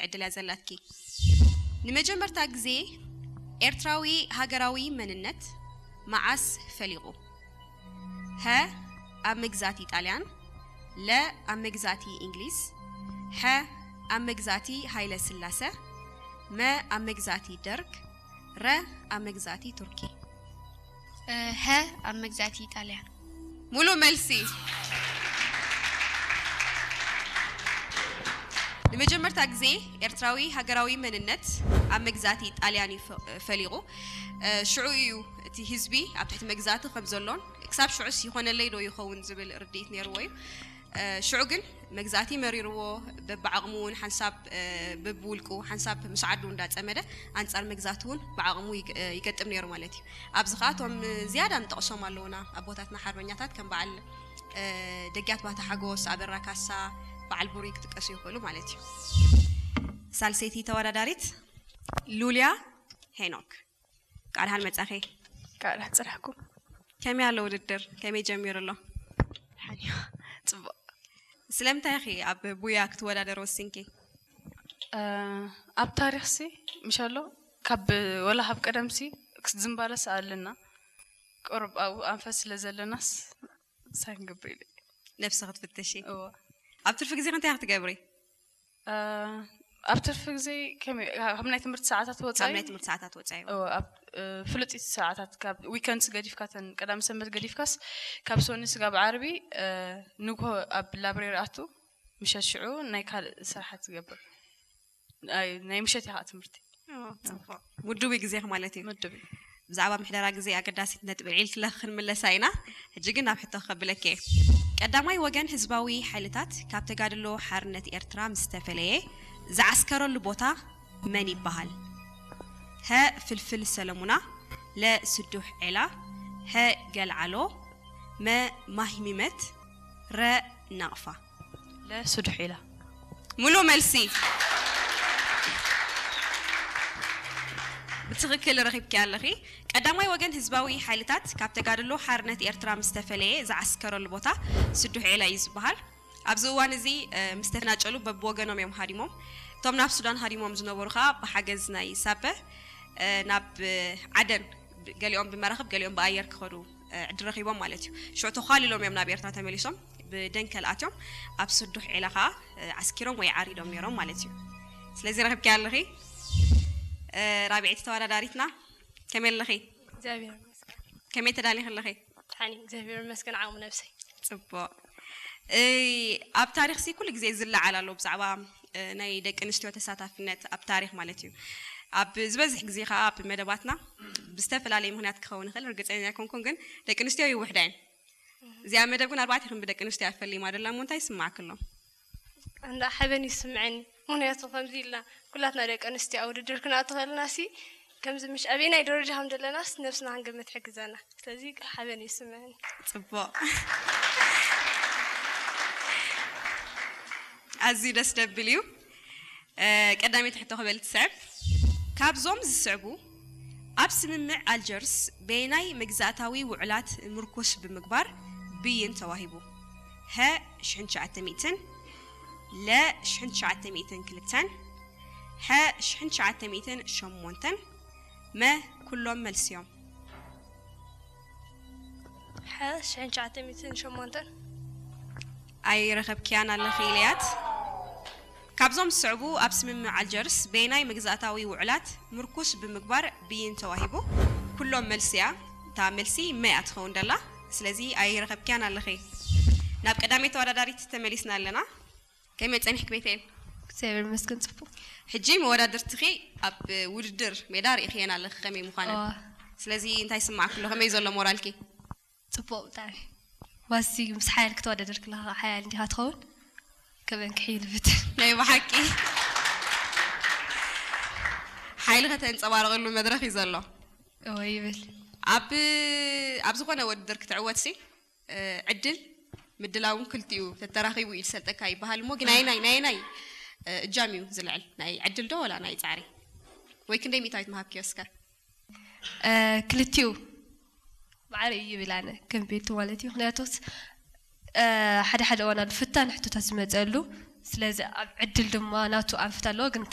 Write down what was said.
ዕድል እያ ዘላትኪ። ንመጀመርታ ግዜ ኤርትራዊ ሃገራዊ መንነት መዓስ ፈሊቑ? ሀ ኣብ መግዛእቲ ጣልያን፣ ለ ኣብ መግዛእቲ እንግሊዝ፣ ሐ ኣብ መግዛእቲ ሃይለ ስላሰ፣ መ ኣብ መግዛእቲ ደርግ፣ ረ ኣብ መግዛእቲ ቱርኪ። ሀ ኣብ መግዛእቲ ኢጣልያ። ሙሉእ መልሲ። ንመጀመርታ ግዜ ኤርትራዊ ሃገራዊ መንነት ኣብ መግዛእቲ ጣልያን እዩ ፈ- ፈሊቑ። ሽዑ እዩ እቲ ህዝቢ ኣብ ትሕቲ መግዛእቲ ከም ዘሎን ክሳብ ሽዑስ ይኾነለይ ዶ ይኸውን ዝብል ርድኢት ነይርዎ እዩ። ሽዑ ግን መግዛእቲ መሪርዎ፣ በብዓቕሙ እውን ሓንሳብ በብውልቁ ሓንሳብ ምስ ዓዱ እንዳፀመደ ኣንፃር መግዛእቲ እውን ብዓቕሙ ይገጥም ነይሩ ማለት እዩ። ኣብዚ ከዓ እቶም ዝያዳ ንጠቕሶም ኣለውና ኣቦታትና ሓርበኛታት ከም በዓል ደጊያት ባህታ ሓጎስ፣ ኣበራ ካሳ፣ በዓል ቡሪ ክጥቀሱ ይኽእሉ ማለት እዩ። ሳልሰይቲ ተወዳዳሪት ሉልያ ሄኖክ፣ ቃልሃን መጻኺ። ቃልሃ ጽራሕኩም። ከመይ ኣሎ ውድድር? ከመይ ጀሚሩ ኣሎ? ሓኒዋ ጽቡቕ። ስለምንታይ ኢኺ ኣብ ቡያ ክትወዳደር ወሲንኪ? ኣብ ታሪኽሲ ምሸሎ ካብ ወላ ካብ ቀደምሲ ዝንባለስ ኣለና፣ ቅሩብ ኣብኡ ኣንፈት ስለ ዘለናስ ሳንግብ ኢለ። ነብሲ ክትፍትሺ። እዎ። ኣብ ትርፊ ግዜ እንታይ ክትገብሪ? ኣብ ትርፊ ግዜ ከመይ ካብ ናይ ትምህርቲ ሰዓታት ካብ ወጻኢ ናይ ትምህርቲ ሰዓታት ወጻኢ። እዎ፣ ኣብ ፍሉጢት ሰዓታት ካብ ዊከንድስ ገዲፍካ፣ ተን ቀዳም ሰንበት ገዲፍካስ ካብ ሰኒ ስጋብ ዓርቢ ንግሆ ኣብ ላብሬሪ ኣቱ፣ ምሸት ሽዑ ናይ ካልእ ስራሓት ትገብር። ናይ ምሸት ኢኻ ትምህርቲ። ምዱብ ግዜኺ ማለት እዩ። ምዱብ። ብዛዕባ ምሕደራ ግዜ ኣገዳሲት ነጥቢ ልዒልክለኺ ክንምለሳ ኢና። ሕጂ ግን ናብ ሕቶ ከብለኪ እየ። ቀዳማይ ወገን ህዝባዊ ሓይልታት ካብ ተጋድሎ ሓርነት ኤርትራ ምስ ተፈለየ ዝዓስከረሉ ቦታ መን ይበሃል? ሀ ፍልፍል ሰለሙና፣ ለ ስዱሕ ዔላ፣ ሐ ገልዓሎ፣ መ ማሂሚመት፣ ረ ናቕፋ። ለስዱሕ ኢላ። ሙሉእ መልሲ። ብትኽክል ረኺብኪ ኣለኺ። ቀዳማይ ወገን ህዝባዊ ሓይልታት ካብ ተጋድሎ ሓርነት ኤርትራ ምስ ተፈለየ ዝዓስከረሉ ቦታ ስዱሕ ዒላ እዩ ዝበሃል። ኣብዚ እዋን እዚ ምስ ተፈናጨሉ በብወገኖም እዮም ሃዲሞም። እቶም ናብ ሱዳን ሃዲሞም ዝነበሩ ከዓ ብሓገዝ ናይ ሳበ ናብ ዓደን፣ ገሊኦም ብመራኽብ ገሊኦም ብኣየር ክኸዱ ዕድል ረኺቦም ማለት እዩ። ሽዑ ተዃሊሎም እዮም ናብ ኤርትራ ተመሊሶም ብደንከል ኣትዮም ኣብ ስዱሕ ዒላ ከዓ ዓስኪሮም ወይ ዓሪዶም ነይሮም ማለት እዩ። ስለዚ ረኺብኪ ኣለኺ ራብዐይቲ ተወዳዳሪትና። ከመይ ኣለኺ? እግዚኣብሔር ይመስገን። ከመይ ተዳሊኺ ኣለኺ? ሓኒ እግዚኣብሔር ይመስገን ዓቕሚ ነብሰይ። ፅቡቕ። ኣብ ታሪኽሲ ኩሉ ግዜ ዝለዓል ኣሎ ብዛዕባ ናይ ደቂ ኣንስትዮ ተሳታፍነት ኣብ ታሪኽ ማለት እዩ። ኣብ ዝበዝሕ ግዜ ከዓ ኣብ መደባትና ብዝተፈላለየ ምክንያት ክኸውን ይኽእል፣ ርግፀኛ ኣይኮንኩን፣ ግን ደቂ ኣንስትዮ ይውሕዳ እየን። እዚኣ መደብ ግን ኣርባዕተ ክም ብደቂ ኣንስትዮ ኣፈሊማ ደላ እሞ እንታይ ይስማዕኪ ኣሎ? እንዳ ሓበን ይስምዐኒ። ምክንያቱ ከምዚ ኢልና ኩላትና ደቂ ኣንስትዮ ኣብ ውድድር ክንኣቱ ከለና ሲ ከምዚ ምሽ ኣበየናይ ደረጃ ከም ዘለናስ ነብስና ክንገምት ይሕግዘና። ስለዚ ሓበን ይስምዐኒ። ፅቡቕ። ኣዝዩ ደስ ደብል እዩ። ቀዳመይቲ ሕቶ ክበል ትስዕብ። ካብዞም ዝስዕቡ ኣብ ስምምዕ ኣልጀርስ በየናይ መግዛእታዊ ውዕላት ምርኩስ ብምግባር ብይን ተዋሂቡ? ሀ ሽሕን ትሽዓተ ሚእትን፣ ለ ሽሕን ትሽዓተ ሚእትን ክልተን፣ ሐ ሽሕን ትሽዓተ ሚእትን ሸሞንተን፣ መ ኩሎም መልስዮም። ሐ ሽሕን ትሽዓተ ሚእትን ሸሞንተን። ኣይረኸብክያን ኣለኺ ኢለያት። ካብዞም ዝስዕቡ ኣብ ስምምዕ ኣልጀርስ በየናይ መግዛእታዊ ውዕላት ምርኩስ ብምግባር ብይን ተዋሂቡ? ኩሎም መልሲ እያ። እታ መልሲ መ እያ ትኸውን ደላ። ስለዚ ኣይረኸብክያን ኣለኺ። ናብ ቀዳመይ ተወዳዳሪት ተመሊስና ኣለና። ከመይ ጸኒሕክ ቤተኤል? እግዚኣብሔር ይመስገን ጽቡቕ። ሕጂ መወዳድርትኺ ኣብ ውድድር ሜዳ ርኢኽየን ኣለኺ ከመይ ምዃነን። እዋ። ስለዚ እንታይ ይስማዓኪ ኣሎ? ከመይ ዘሎ ሞራልኪ? ጽቡቕ ብጣዕሚ። ዋሲ ምስ ሓያል ክትወዳደር ከለኻ ሓያል እንዲኻ ትኸውን። ከመን ክሕይል ብትን። ናይ ብሓቂ ሓይሊ ከተንጸባርቕሉ መድረኽ እዩ ዘሎ። እወ ይብል። ኣብ ኣብ ዝኾነ ውድድር ክትዕወትሲ ዕድል ምድላውን ክልቲኡ ተተራኺቡ እዩ ዝሰልጠካ ይበሃል እሞ ግን ናይ ናይ ናይ ናይ እጃም እዩ ዝልዕል ናይ ዕድል ዶ ወላ ናይ ጻዕሪ? ወይ ክንደይ ሚእታዊት ምሃብክዮ እስከ? ክልቲኡ ማዕረ እዩ ይብል ኣነ ከም ቤቱ ማለት እዩ። ምክንያቱስ ሓደ ሓደ እዋን ኣሎ ፍታን ሕቶታት ዝመፀሉ ስለዚ ኣብ ዕድል ድማ ናቱ ኣንፈት ኣለዎ። ግን